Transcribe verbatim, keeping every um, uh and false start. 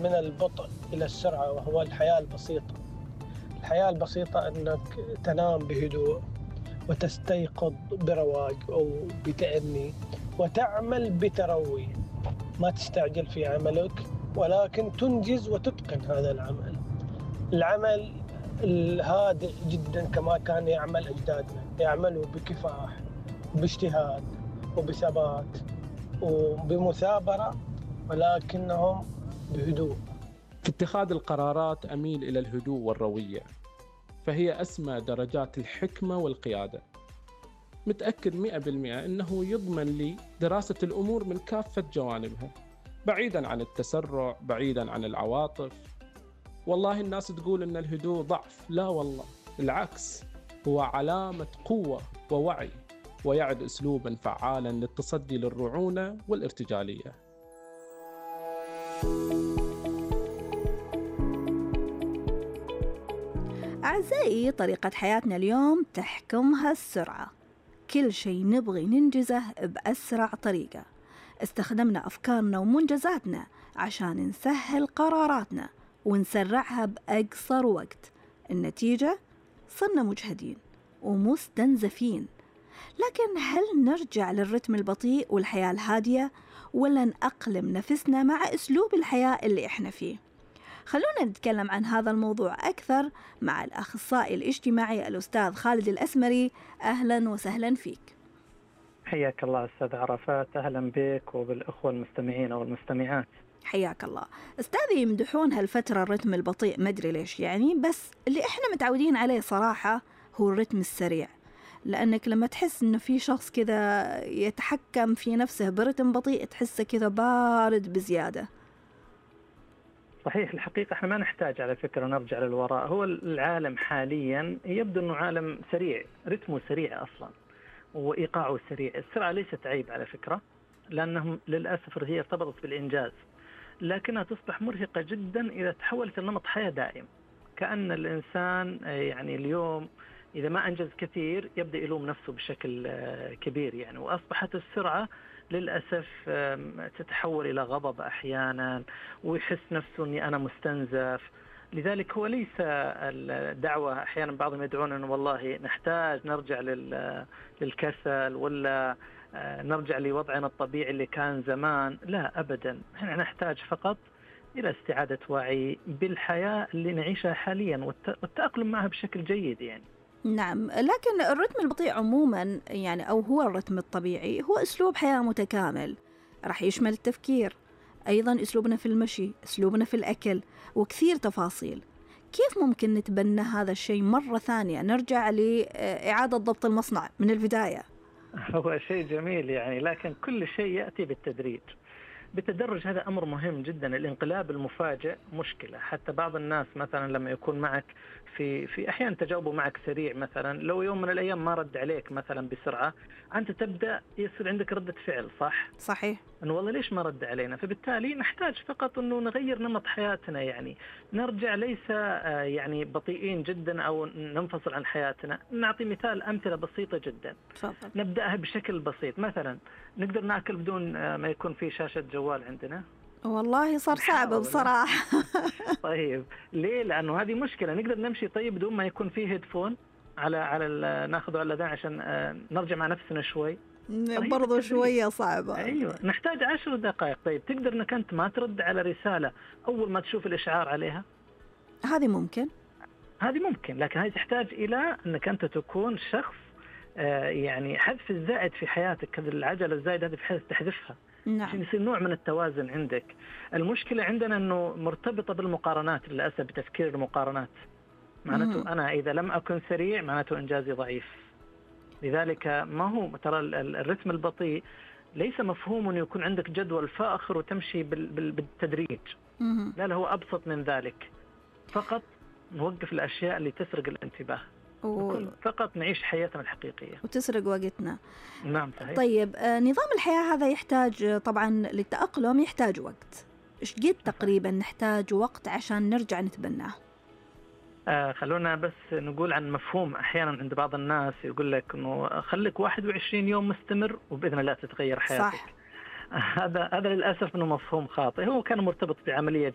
من البطء إلى السرعة، وهو الحياة البسيطة. الحياة البسيطة أنك تنام بهدوء وتستيقظ برواق أو بتأني وتعمل بتروي، ما تستعجل في عملك ولكن تنجز وتتقن هذا العمل. العمل الهادئ جدا كما كان يعمل أجدادنا، يعملوا بكفاح باجتهاد وبثبات وبمثابرة، ولكنهم بهدوء. في اتخاذ القرارات أميل إلى الهدوء والروية، فهي أسمى درجات الحكمة والقيادة. متأكد مئة بالمئة أنه يضمن لي دراسة الأمور من كافة جوانبها، بعيداً عن التسرع، بعيداً عن العواطف. والله الناس تقول أن الهدوء ضعف، لا والله العكس، هو علامة قوة ووعي، ويعد أسلوباً فعالاً للتصدي للرعونة والارتجالية. أعزائي، طريقة حياتنا اليوم تحكمها السرعة، كل شيء نبغي ننجزه بأسرع طريقة. استخدمنا أفكارنا ومنجزاتنا عشان نسهل قراراتنا ونسرعها بأقصر وقت. النتيجة صرنا مجهدين ومستنزفين. لكن هل نرجع للرتم البطيء والحياة الهادية، ولا نأقلم نفسنا مع أسلوب الحياة اللي إحنا فيه؟ خلونا نتكلم عن هذا الموضوع أكثر مع الأخصائي الاجتماعي الأستاذ خالد الأسمري. أهلا وسهلا فيك. حياك الله أستاذ عرفات، أهلا بك وبالأخوة المستمعين والمستمعات. حياك الله. أستاذي، يمدحون هالفترة الرتم البطيء، مدري ليش يعني، بس اللي إحنا متعودين عليه صراحة هو الرتم السريع. لأنك لما تحس إنه في شخص كذا يتحكم في نفسه برتم بطيء تحسه كذا بارد بزيادة. صحيح، الحقيقة احنا ما نحتاج على فكرة نرجع للوراء. هو العالم حاليا يبدو أنه عالم سريع، رتمه سريع أصلا وإيقاعه سريع. السرعة ليست عيب على فكرة، لأنهم للأسف هي ارتبطت بالإنجاز، لكنها تصبح مرهقة جدا إذا تحولت لنمط حياة دائم. كأن الإنسان يعني اليوم إذا ما أنجز كثير يبدأ يلوم نفسه بشكل كبير يعني، وأصبحت السرعة للأسف تتحول إلى غضب أحيانا، ويحس نفسه أني أنا مستنزف. لذلك هو ليس الدعوة، أحيانا بعضهم يدعون أنه والله نحتاج نرجع للكسل ولا نرجع لوضعنا الطبيعي اللي كان زمان. لا أبدا، احنا نحتاج فقط إلى استعادة وعي بالحياة اللي نعيشها حاليا والتأقلم معها بشكل جيد يعني. نعم، لكن الرتم البطيء عموما يعني، أو هو الرتم الطبيعي، هو أسلوب حياة متكامل راح يشمل التفكير، أيضا أسلوبنا في المشي، أسلوبنا في الأكل، وكثير تفاصيل. كيف ممكن نتبنى هذا الشيء مرة ثانية، نرجع لإعادة ضبط المصنع من البداية؟ هو شيء جميل يعني، لكن كل شيء يأتي بالتدريج بالتدرج. هذا أمر مهم جدا. الانقلاب المفاجئ مشكلة. حتى بعض الناس مثلا لما يكون معك في في أحيان تجاوبه معك سريع، مثلا لو يوم من الأيام ما رد عليك مثلا بسرعة، أنت تبدأ يصير عندك ردة فعل. صح؟ صحيح. أنه والله ليش ما رد علينا؟ فبالتالي نحتاج فقط أنه نغير نمط حياتنا يعني، نرجع ليس يعني بطيئين جدا أو ننفصل عن حياتنا. نعطي مثال، أمثلة بسيطة جدا. تفضل. نبدأها بشكل بسيط. مثلا نقدر نأكل بدون ما يكون في شاشة جوال عندنا؟ والله صار صعب بصراحة. طيب ليه؟ لأنه هذه مشكلة. نقدر نمشي طيب بدون ما يكون فيه هيدفون على على ناخذه على الأذان عشان نرجع مع نفسنا شوي؟ برضو شوية صعبة. أيوة، نحتاج عشر دقائق. طيب تقدر أنك أنت ما ترد على رسالة أول ما تشوف الإشعار عليها؟ هذه ممكن هذه ممكن لكن هذه تحتاج إلى أنك أنت تكون شخص آه يعني حذف الزائد في حياتك. هذه العجلة الزائدة هذه بحيث تحذفها. نعم. عشان يصير نوع من التوازن عندك. المشكلة عندنا أنه مرتبطة بالمقارنات للأسف، بتفكير المقارنات. معناته أنا إذا لم أكن سريع معناته إنجازي ضعيف. لذلك ما هو ترى الرتم البطيء ليس مفهوم أن يكون عندك جدول فاخر وتمشي بالتدريج. لا لا، هو أبسط من ذلك. فقط نوقف الأشياء اللي تسرق الانتباه، و... فقط نعيش حياتنا الحقيقية وتسرق وقتنا. نعم صحيح. طيب آه، نظام الحياة هذا يحتاج طبعا للتأقلم يحتاج وقت. إيش قد تقريبا نحتاج وقت عشان نرجع نتبناه؟ آه خلونا بس نقول عن مفهوم. أحيانا عند بعض الناس يقول لك إنه خليك واحد وعشرين يوم مستمر وبإذن الله تتغير حياتك. صح. هذا هذا للأسف إنه مفهوم خاطئ. هو كان مرتبط بعملية